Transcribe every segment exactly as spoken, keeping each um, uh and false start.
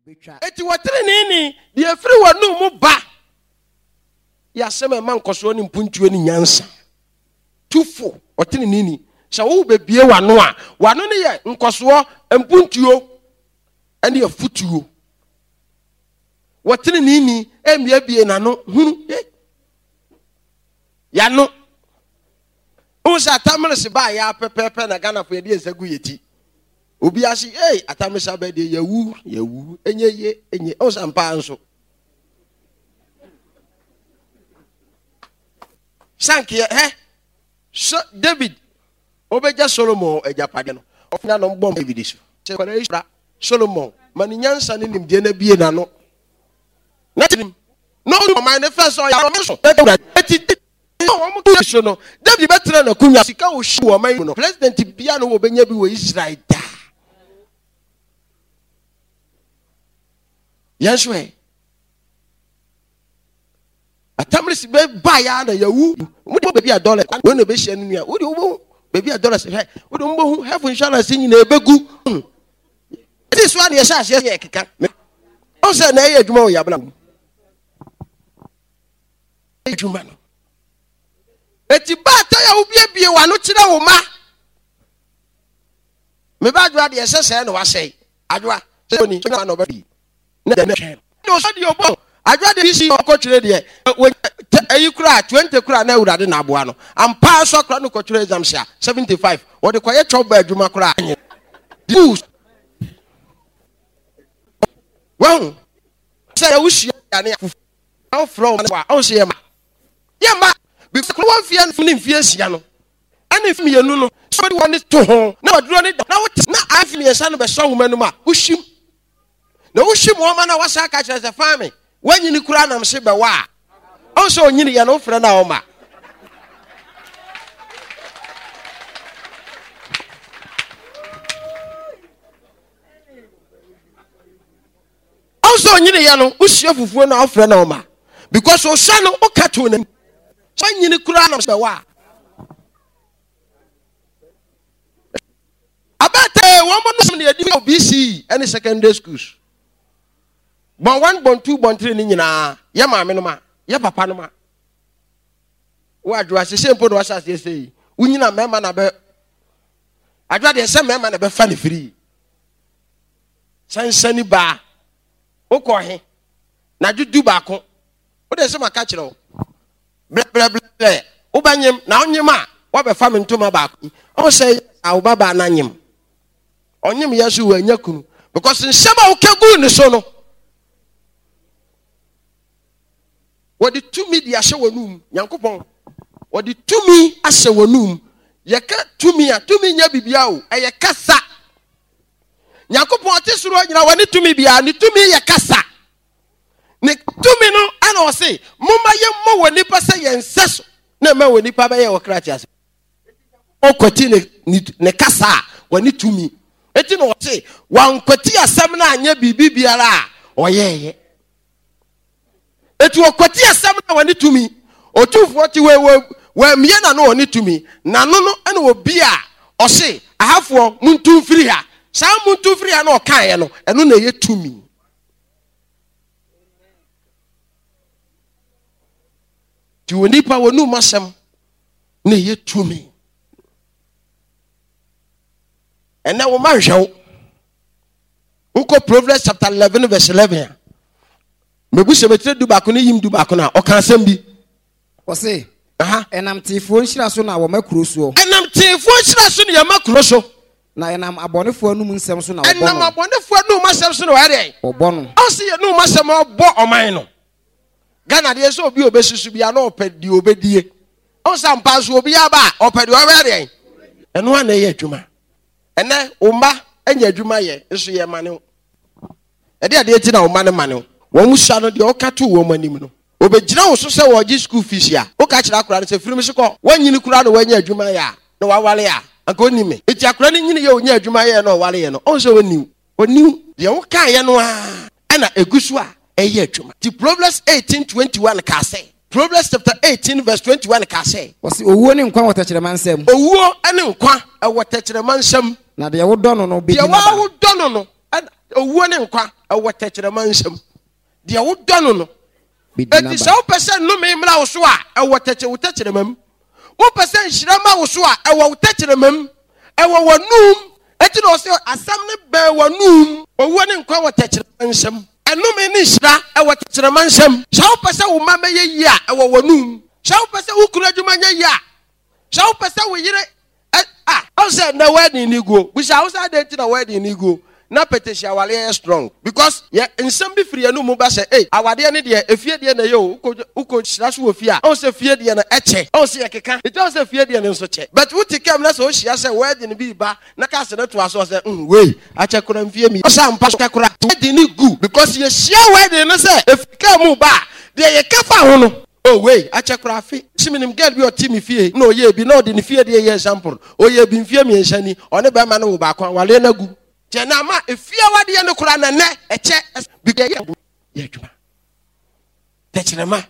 Obɛtwa. Eti wɔteneneeni deɛ efiri wɔn mu ba yɛ asɛm a ɛma nkɔsoɔ ne mpuntuo ne nyansa. Tufo ɔteneneeni sɛ wo bebie w'ano a, w'ano no yɛ nkɔsoɔ, mpuntuo ɛne afutuo. Wɔteneneeni mmiebie n'ano hunu eh yano. Wohu sɛ Atammerese baa yɛ pɛpɛɛpɛ na Ghanafoɔ yɛde yɛn nsa gu yɛ ti. Obi ase ei, Atammerese aba deɛ, yɛwu yɛwu, ɛnyɛ yie, ɛnyɛ. Wohu sɛ ampa nso sankeɛ hɛ so David obɛgya Solomon agyapadeɛ no, ɔfina no mbɔ David so sɛ kwadaa yi sra Solomon ma ne nyansa ne nimdeɛ no abie n'ano na tirim na ɔne ɔman ne fɛ sɛ ɔyɛ ɔman so eti wɔn kɛ so no, David bɛtena n'akonnwa sika ohyi wɔ ɔman mu no, president bia no wɔbɛnya bi wɔ Israel daa. Yɛn so ɛ Atammerese bɛ ba ya na yawu mo de baabi a dollar wɔn na bɛhyia no nua wode wobɛhu baabi a dollars hwɛ, wode wobɛhu health insurance nyinaa ɛbɛgu ɛti so a ne yɛhyɛ aseɛ yɛ keka ɔn sɛ na ɛyɛ adwuma wɔ yɛabena mu adwuma no. Eti baata yɛ wobiebie w'ano kyerɛ wo ma meba Adwoa deɛ ɛsɛ sɛ na wasɛe Adwoa sɛ oni na ɔbɛ na dɛm hwɛ no ɔsɔ deɛ ɔbɔ Adwoa deɛ si ɔkɔtwerɛ deɛ ɛyi kura twenty kura na Awurade na aboa no ampa nso akora no kɔtwerɛ exams a seventy five wɔde kɔyɛ twɛw ba adwuma kora anyɛ wɔn sɛ ɛwuhyia ne afufu na wofrɛ wɔn a ɔn sɛ yɛ ma yɛ ma because wɔn mfeɛ ne mfeɛ nsia no ɛne mfe mmienu no sɛ wɔde wɔn to ho na wɔduro ne da na wote na afi mmiɛnsa no bɛsɔ nwoma no mu a, wohyim na wohyim wɔn ma na wɔsa aka kyerɛ sɛ faame wɔnyini kura nam se bɛwɔ a ɔn sɛ onyini yɛ no wofrɛ no a ɔma ɔn sɛ onyini yɛ no wohyia fufuo no a wofrɛ no ɔma because ɔhyɛ no woka to n'anim wɔnyini kura nam se bɛwɔ a abɛtɛ wɔn mo nom ne yɛdi wɔ B C E ɛne secondary schools bɔn one, bɔn two, bɔn three ne nyinaa yɛ maame no ma yɛ papa no ma wo Adwoa sese mpo na wahyɛ aseɛ sɛ yi wonyina mmarima na bɛ Adwoa deɛ sɛ mmarima na bɛfa ne firi sansani baa wokɔ he na dwo du baako wode sɛ maka kyerɛ wo blɛblɛblɛ wobɛnyem na wonyem a woabɛfa me ntoma baako yi ɔwo sɛ a wo babaa no anyem ɔnyem yɛ so wanya kunu because nsɛm a woka guu ne so no wɔde tumi de ahyɛ wɔn num. Nyankopɔn wɔde tumi ahyɛ wɔn num. Yɛka tumi a, tumi nyɛ bibia o, ɛyɛ kasa. Nyankopɔn ɔte soro nyina wɔne tumi biara, ne tumi yɛ kasa. Ne tumi no ɛna ɔse momma yɛmmɔ wɔ nipa sɛ yɛn nsɛ so na ɛma wɔ nipa bɛyɛ wɔ kra te ase. Ɔkwati ne ne ne kasa a wɔne tumi eti na ɔse wankwati asɛm no anyɛ biribi biara a ɔyɛɛyɛ. Eti ɔkwati asɛm no a wɔne tumi otumfoɔ te wɔ wɔ wɔamie n'ano wɔne tumi n'ano no ɛna obi a ɔse ahafoɔ muntu mfiri ha, saa muntu mfiri ha na ɔkaeɛ no, ɛno na ɛyɛ tumi. Nti wɔ nipa wɔ num asɛm na ɛyɛ tumi. Ɛnɛ wo ma nhwɛ wo wokɔ Proverbs chapter eleven verse eleven a mebu sɛ mɛtire du baako ne yim du baako no a ɔka asɛm bi. Ɔse Aha. Ɛnam teefoɔ nhyira so na wɔma kuro soɔ. Ɛnam teefoɔ nhyira so ne yɛma kuro so. Na ɛnam abɔnefoɔ anum nsɛm so na wɔbɔ ɛnam no. Abɔnefoɔ anum asɛm so na wɔyɛ deɛ wɔbɔ no. Ɔse yɛ num asɛm a ɔbɔ ɔman no. Ghana deɛ sɛ obi a obɛsusu bia na ɔpɛ deɛ obɛdie ɔn sɛ ampa nso obi aba a ɔpɛ deɛ ɔbɛyɛ deɛ ɛno a na ɛyɛ adwuma. Ɛnɛ wo mma anya adwuma yɛ nso yɛ ma ne wo ɛde adeɛ ti na wo mma ne ma ne wo wɔn sua no deɛ ɔka to wɔn anim no obɛgyina wo so sɛ wɔgye school fees a woka kyerɛ akora no sɛ firim so kɔ wɔnyini kora na wɔanya adwuma yɛ a na wawale a anka ɔni me. Eti akora no nyini yɛ ɔnya adwuma yɛ na ɔwale yɛ no ɔn sɛ ɔniw ɔniw deɛ wokaeɛ no a ɛna egu so a ɛyɛ adwuma. Ti Proverbs eighteen twenty one kaa sɛ, Proverbs chapter eighteen verse twenty one kaa sɛ, Ɔse owuo ne nkwa wɔ tɛkyerɛma nsam. Owuo ne nkwa ɛwɔ tɛkyerɛma nsam. Na deɛ wodɔ no no bɛdi deɛ n'aba. Wodɔ no no ɛna owuo ne nkwa ɛwɔ tɛkyerɛma nsam. Deɛ wodɔ no no. Enti sɛ wopɛ sɛ nnome mmra wo so a, ɛwɔ tɛkyɛ wo tɛkyerɛma mu. Wopɛ sɛ nhyira ma wo so a, ɛwɔ wo tɛkyerɛma mu. Ɛwɔ w'anum. Enti na ɔsɛ asɛm no bɛn w'anum. Owuo ne nkwa wɔ tɛkyerɛma nsam. Ɛnome ne nhyira ɛwɔ tɛkyerɛma nsam. Sɛ wopɛ sɛ wo mma bɛyɛ yie a, ɛwɔ w'anum. Sɛ wopɛ sɛ wo kunu adwuma nyɛ yie a, sɛ wopɛ sɛ wo yere ɛ a ɔn sɛ nnɛ wedding ni guo. Bisa wo sɛ adɛn nti na wedding ni guo na petesi awareɛ yɛ strong because yɛ nsɛm bi firi yɛn mu ba sɛ ei awadeɛ ne deɛ efie deɛ na ɛyɛ o, wokɔ wokɔ hyira so wɔ fie a, ɔn sɛ fie deɛ no ɛkyɛ, ɔn sɛ yɛkeka nti ɔn sɛ fie deɛ no nso kyɛ, but wote kam na sɛ wohyia sɛ wedding bi ba na cars no toa so ɔsɛ mm wei akyɛ kora mfie mi ɔsɛ ampa so kora wedding ni gu because yɛhyia wedding no sɛ efiri kaa mu ba a, deɛ yɛka fa ho no. Oh wei akyɛ koraa afe si menim girl bi ɔte me fie na ɔyɛɛ bi na ɔde ne fie deɛ yɛ example, ɔyɛɛ bi mfie mmiɛnsa ni, ɔne bɛrima no wo baako awareɛ no agu. Kyɛ na ama efie awadeɛ no koraa na nɛ ɛkyɛ bi yɛ adwuma tɛkyerɛma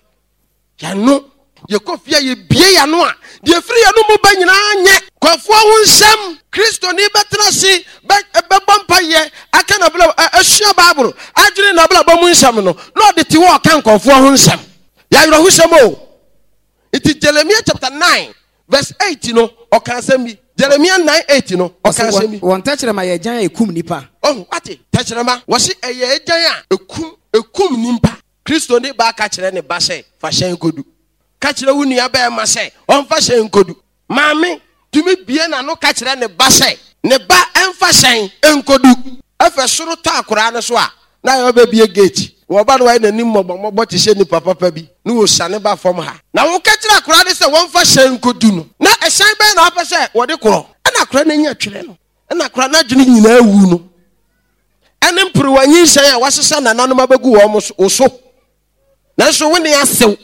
yɛano yɛkɔ fie a yɛbie yɛano a deɛ firi yɛno mu ba nyinaa nyɛ kɔfoɔ ho nsɛm. Kristoni bɛtena ase bɛbɔ mpayɛ aka nabla asua Bible adwene nabrabɔ mu nsɛm no na ɔde te hɔ ɔka nkɔfoɔ ho nsɛm. Yɛawerɛhosɛm o. Nti Jeremia chapter nine verse eight no ɔka asɛm bi. Jeremia nine eight no ɔka asɛm bi. Wɔn tɛkyerɛma yɛ agyan a ekum nipa. Ɔho wate tɛkyerɛma wɔsi ɛyɛ agyan a ekum ekum nipa. Kristoni baa ka kyerɛ ne ba sɛ fa hyɛn kodu. Ka kyerɛ wo nua bɛrima sɛ ɔmfa hyɛn kodu. Maame tumi bie n'ano ka kyerɛ ne ba sɛ ne ba ɛmfa hyɛn nkodu. Ɛfɛ soro tɔ akoraa no so a na ayɛ ɔbɛbie gate. Wɔba no wayɛ n'anim mmɔbɔmmɔbɔ te sɛ nipa papa bi ne wɔsiane ba fam ha. Na woka kyerɛ akoraa no sɛ wɔmfa hyɛn nkodu no, na ɛhyɛn bɛn na wapɛ sɛ wɔde korɔ? Ɛna akoraa no anya twerɛ no, ɛna akoraa no adwene nyinaa wu no. Ɛne mperewa nyinsɛn a wasesa nananom abɛgu wɔn wo so. Nanso wo ne asew.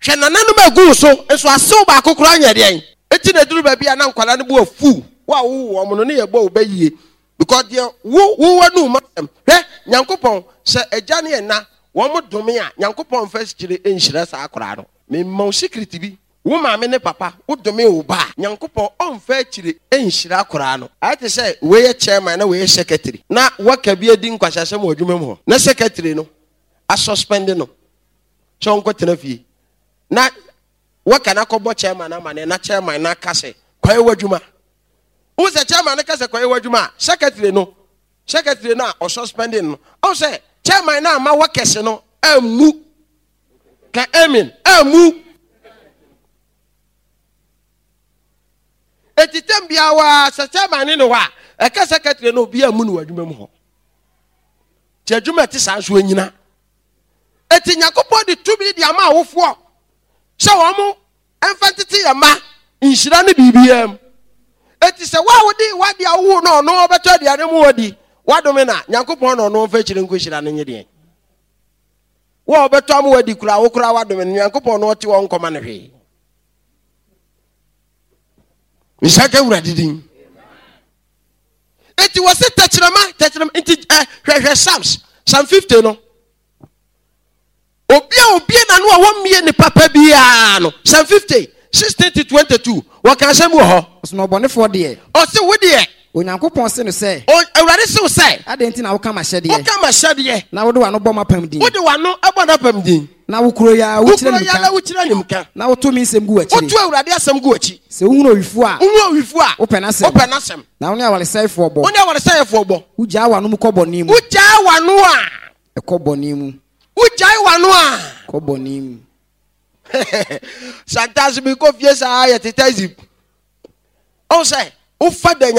Hwɛ nananom agu wo so, nso asew baako koraa nyɛ deɛn. Enti na ɛduru baabi a na nkwadaa no bo afu wo a wowo wɔn no ne yɛbɔ wo bɛ yie. Because deɛ wo wo w'anum asɛm. Hwɛ Nyankopɔn sɛ agya ne ɛna wɔn dome a Nyankopɔn mfa akyire nhyira saa akwadaa no. Mema wo secret bi, wo maame ne papa wo dome wo ba a Nyankopɔn ɔmfa akyire nhyira akwadaa no. Ayɛ te sɛ wei yɛ chairman na wei yɛ secretary na waka bi adi nkwahyɛsɛm wɔ adwuma mu hɔ na secretary no asuspend no sɛ ɔnkɔtena fie na waka no akɔbɔ chairman amanneɛ na chairman no aka sɛ kɔyɛ w'adwuma. Wo sɛ chairman no ka sɛ kɔyɛ w'adwuma a secretary no secretary no a ɔsuspending no ɔn sɛ chairman no ama workers no ammu ka amen ammu. Eti tɛm biara waa sɛ chairman ne ne hɔ a ɛka secretary no obi ammu no wɔ adwuma mu hɔ. Nti adwuma ɛte saa nso anyina. Eti Nyankopɔn de tumi de ama awofoɔ sɛ wɔn ɛmfa ntete yɛ mma nhyira ne biribiara mu. Eti sɛ wo a wode w'ade a wowo no ɔno ɔbɛtɔ aduane mu wadi wadome na Nyankopɔn na ɔno ɔmfa akyire nkɔhyira no nye deɛn. Wo a ɔbɛtɔ ama wadi koraa wo koraa wadome no Nyankopɔn na ɔte hɔ nkɔma no hwee. Nhyira ka Awurade din. Eti wɔ se tɛkyerɛma tɛkyerɛma nti ɛ hwɛhwɛ Psalms Psalm fifty no. Obi a obie n'ano a wɔmmie ne papa biara no Psalm fifty sixteen to twenty two wɔka asɛm wɔ hɔ. Ɔsɛ ɔbɔnefoɔ deɛ. Ɔse wo deɛ. Onyankopɔn se no sɛ. O Awurade se wo sɛ. Adɛn nti na woka m'ahyɛdeɛ? Woka m'ahyɛdeɛ. Na wode w'ano bɔ m'apam din. Wode w'ano bɔ n'apam din. Na wo kuro yi ara wokyerɛ Wo kuro yi ara wokyerɛ nimka. Na woto me nsɛm gu w'akyiri. Woto Awurade asɛm gu w'akyi. Sɛ wohunu owifoɔ a. Wohunu owifoɔ a. Wopɛ n'asɛm. Wopɛ n'asɛm. Na wo ne awaresɛefoɔ bɔ. Wo ne awaresɛefoɔ bɔ. Wogyaa w'ano mu kɔ bɔne mu. Wogyaa w'ano a. Ɛkɔ bɔne mu. Wogyae w'ano a. Kɔ bɔne mu. Sometimes mi kɔ fie saa yɛ teta zip. Ɔn sɛ wofa da nya